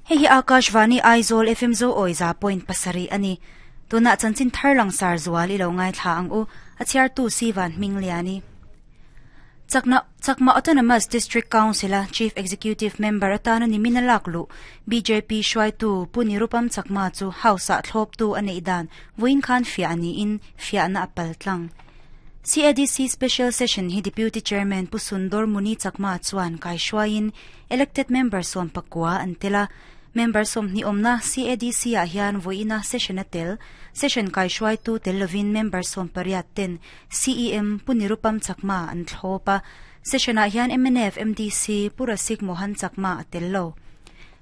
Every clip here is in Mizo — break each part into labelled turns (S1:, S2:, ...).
S1: Hei hi Akashvani Aizawl FM Zo awi 100.7 a ni. Tunah chanchin thar langsar zual i lo ngaithla ang u. A chhiartu Sivan Hmingliani. Chakna Chakma Autonomous District Council-a Chief Executive Member atana nimin a lak luh bjp hruaitu Pu Nirupam Chakma chu House-ah thlawptu a neih dan vawiin khan fiah niin fiahna a pal tlang. CADC Special Session hi Deputy Chairman Pu Sundor Muni Chakma chuan kaihruaiin Elected Member 19 an tel a. Member 20 awmna CADC-ah hian vawiina session a tel. Session kaihruaitu tel lovin member 18 ten CEM Pu Nirupam Chakma an thlawp a. Session-ah hian mnf MDC Pu Rasik Mohan Chakma a tel lo.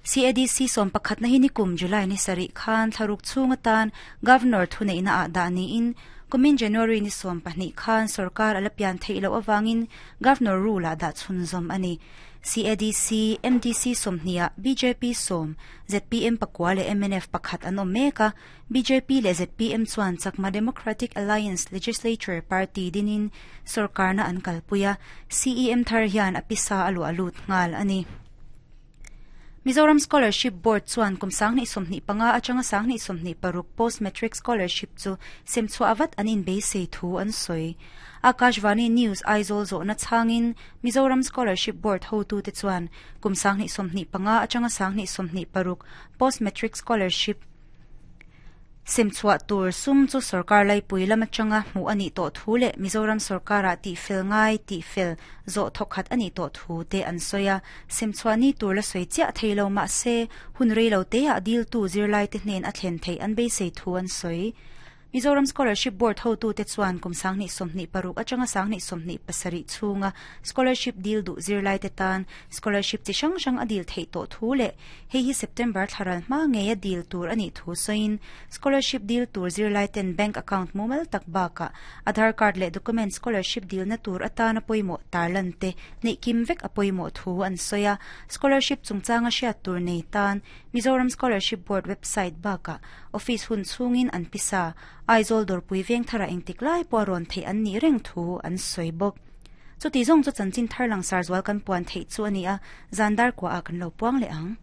S1: CADC 11 na hi nikum July ni sarih khan thlaruk chhung atan Governor thuneihna ah dah niin kumin January ni 12 khan sorkar a la pian theih loh avangin Governor rule ah dah chhunzawm a ni. CADC, MDC 20 ah bjp 10, zpm 9 leh mnf 1 an awm mek a, bjp leh zpm chuan Chakma Democratic Alliance Legislature Party dinin sorkarna an kalpui a, CEM thar hian a pisa a luah lut nghal a ni. Mizoram Scholarship Board chuan kum 2025 atanga 2026 Post-Matric Scholarship chu semchhuah vat an inbeisei thu an sawi. Akashvani News Aizawl zawhna chhangin Mizoram Scholarship Board hotute chuan kum 2025 atanga 2026 Post-Matric Scholarship semchhuah tur sum chu sorkar laipui lam atanga hmuh a nih tawh thu leh Mizoram sorkarah tihfel ngai tihfel zawh thawkhat a nih tawh thu te an sawi a. Semchhuah ni tur la sawi chiah thei lo mah se hun rei lo teah diltu zirlaite hnen a thlen theih an beisei thu an sawi. Mizoram Scholarship Board hotute chuan kum 2026 atanga 2027 chhunga scholarship dil duh zirlaite tan scholarship chi hrang hrang a dil theih tawh thu leh hei hi September thlaral hma ngei a dil tur a nih thu sawiin scholarship dil tur zirlaiten bank account mumal tak bakah Aadhaar card leh document scholarship dilna tur atana pawimawh tarlan te neih kim vek a pawimawh thu an sawi a. Scholarship chungchanga hriat tur nei tan Mizoram Scholarship Board website bakah office hun chhungin an pisa Aizawl dawrpui veng tharah engtik lai pawh a rawn theih an nih reng thu an sawi bawk. Chuti zawng chu chanchin thar langsar zual kan puan theih chu a ni a, zan dar kuahah kan lo puang leh ang.